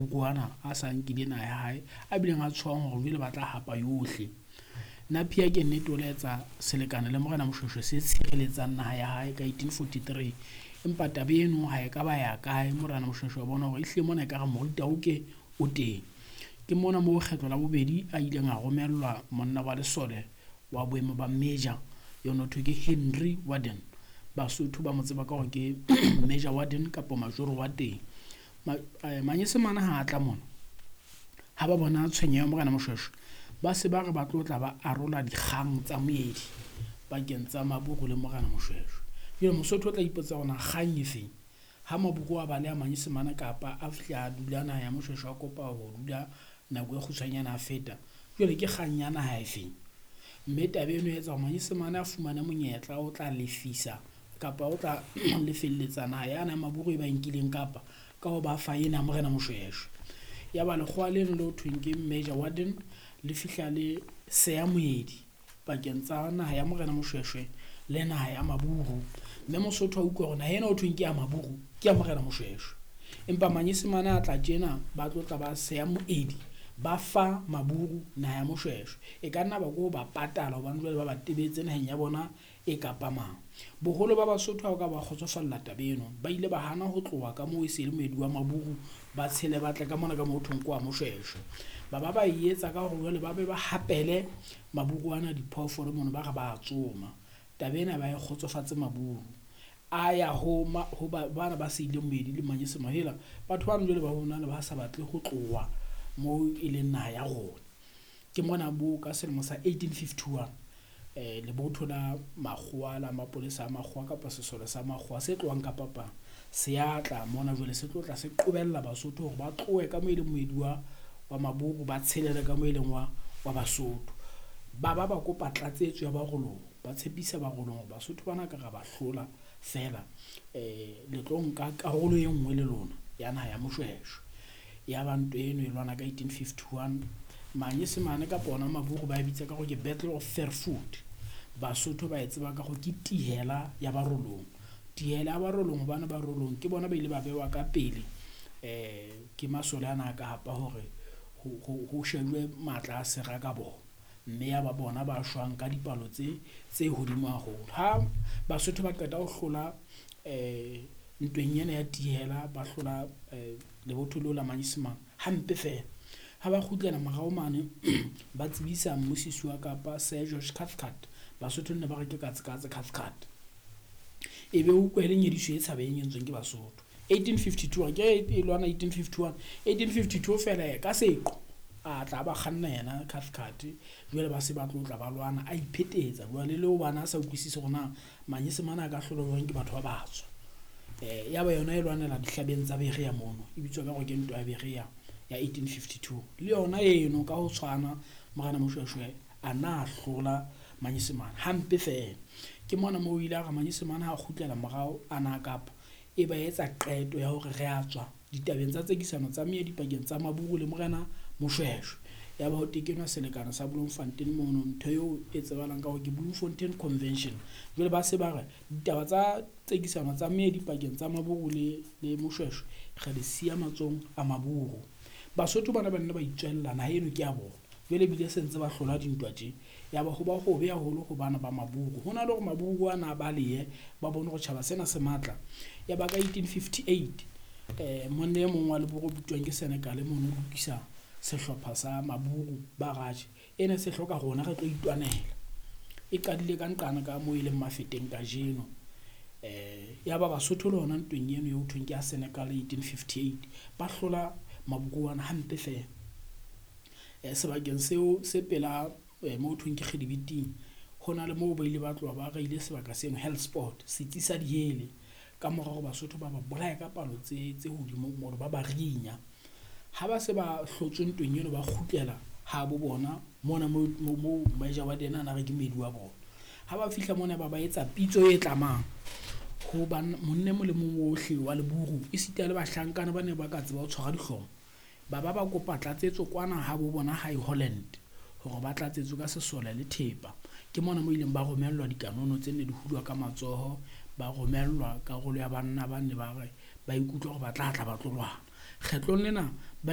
Ana a sa nkile naha ya hae, a bileng a tshohang hore jwale ba tla hapa yohle. Napier ke nnete o la etsa selekane le Morena Moshweshwe se tshireletsang naha ya hae ka 1843. Empa taba eno ha e ka ba ya kae, Morena Moshweshwe a bona hore ehlile mona ekare moritaoke o teng. Ke mona moo kgetlo la bobedi a ileng a romellwa monna wa lesole wa boemo ba major eno thwe ke Henry Warden. Basotho ba mo tseba ka hore ke Major Warden kapa Majoro wa teng. Manyesemane ha a tla mona, ha ba bona tshwenyeho ya Morena Moshweshwe, ba se ba re ba tlo tla ba arola dikgang tsa moedi pakeng tsa Maburu le Morena Moshweshwe. Jwale Mosotho o tla ipotsa hore na kgang e feng? Ha Maburu a baleha Manyesemane kapa a fihla a dula naha ya Moshweshwe a kopa ho dula nako e kgutshwanyane a feta, jwale ke kgang ya naha e feng? Mme taba eno e etsa hore Manyesemane a fumane monyetla o tla lefisa kapa o tla lefelletsa naha yane ya Maburu e ba e nkileng kapa ka ho ba fa ena ya Morena Moshweshwe. Ya ba lekgowa leno le ho thweng ke Major Warden le fihla le seya moedi pakeng tsa naha ya Morena Moshweshwe le naha ya Maburu. Mme Mosotho a utlwa hore naha ena ho thweng ke ya Maburu ke ya Morena Moshweshwe. Empa Manyesemane a tla tjena ba tlo tla ba seya moedi, ba fa Maburu naha ya Moshweshwe. E ka nna ba ko ba patala hobane jwale ba ba tebetse naheng ya bona e kapa mang. Boholo ba Basotho ha o ka ba kgotsofalla taba eno, ba ile ba hana ho tloha ka moo e se le moedi wa Maburu, ba tshele ba tle ka mona ka moo ho thweng ke wa Moshweshwe. Ba ba ba e etsa ka hore jwale ba be ba hapele Maburu ana diphoofolo mono ba re ba tsoma. Taba ena ba e kgotsofatse Maburu. A ya ho ho bana ba seileng moedi le Manyesemane, hela batho bano jwale ba bona ne ba sa batle ho tloha moo e leng naha ya rona. Ke mona bo ka selemo sa 1851 lebotho la makgowa la mapolesa a makgowa kapa sesole sa makgowa se tlohang Kapa Kapa se a tla mona jwale se tlo tla se qobella Basotho hore ba tlohe ka moo e leng moedi wa Maburu, ba tshelele ka moo e leng wa Basotho. Ba ba ba kopa tlatsetso ya Barolong, ba tshepisa Barolong hore Basotho bana ka ra ba hlola feela le tlo nka karolo e nngwe le lona ya naha ya Moshweshwe. Ya ba ntwa eno e lwana ka 1851. Manyesemane kapa ona Maburu ba e bitsa ka hore ke Battle of Verwoerd. Basotho ba e tseba ka hore ke Tihela ya Barolong. Tihela ya Barolong hobane Barolong ke bona ba ile ba bewa ka pele ke masole ana a Kapa hore ho shejwe matla a sera ka bona. Mme ya ba bona ba shwang ka dipalo tse hodimo haholo. Ha Basotho ba qeta ho hlola ntweng ena ya Tihela, ba hlola lebotho leo la Manyesemane hampe feela. Ha ba kgutlela morao mane ba tsebisa mmusisi wa Kapa Sir George Cathcart. Basotho nne ba re ke katse-katse Cathcart. E be utlwa e le nyediso e tshabeheng e entsweng ke Basotho. 1852 ke e lwana 1851, 1852 feela ka seqo a tla ba kganna yena Cathcart. Jwale ba se ba tlo tla ba lwana, a iphetetsa jwale le hobane a sa utlwisise hore na Manyesemane a ka hlolwa jwang ke batho ba batsho. Ya ba yona e lwanela dihlabeng tsa Berea mono, e bitswa ka hore ke ntwa ya Berea ya 1852. Le yona eno ka ho tshwana Morena Moshweshwe a na hlola Manyesemane hampe feela. Ke mona moo o ile a re Manyesemane ha kgutlela morao a na Kapa, e ba etsa qeto ya hore re a tswa ditabeng tsa tsekisano tsa meedi pakeng tsa Maburu le Morena Moshweshwe. Ya ba ho tekenwa selekane sa Bloemfontein mono, ntho eo e tsebahalang ka hore ke Bloemfontein Convention. Jwale ba se ba re ditaba tsa tsekisano tsa meedi pakeng tsa Maburu le Moshweshwe re di siya matsohong a Maburu. Basotho bana ba nne ba itswella naha eno ke ya bona. Jwale ebile se ntse ba hlola dintwa tje. Ya ba ho ba hobe haholo ho bana ba Maburu. Ho na le hore Maburu ana a balehe ba bone hore tjhaba sena se matla. Ya ba ka 1858 monna e mong wa Leburu o bitswang ke Senekal mono o lokisa sehlopha sa Maburu ba Raje. Ena se hloka rona re tlo itwanela. E qadile ka nqane ka moo e leng Mafeteng kajeno. Ya ba Basotho le hona ntweng eno eo thweng ke ya Senekal 1858 ba hlola Maburu ana hampe feela. Sebakeng seo se pela moo thweng ke Kgedibiting, ho na le moo ba ile ba tloha ba reile sebaka seno Hellsport, setsi sa dihele. Ka mora hore Basotho ba ba bolaye ka palo tse hodimo mono, ba ba rinya. Ha ba se ba hlotswe ntweng eno, ba kgutlela ha bo bona mona moo Major Warden a na re ke moedi wa bona. Ha ba fihla mona ba ba etsa pitso e tlamang ho monna e mong le mong ohle wa Leburu, esita le bahlankana ba ne ba ka tseba ho tshwara dihlomo. Ba ba ba kopa tlatsetso kwana ha bo bona hae Holland hore ba tlatsetswe ka sesole le thepa. Ke mona mo ileng ba romellwa dikanono tse ne di hulwa ka matsoho, ba romellwa karolo ya banna ba ne ba re ba ikutlwa hore ba tla tla ba tlo lwana. Kgetlong lena ba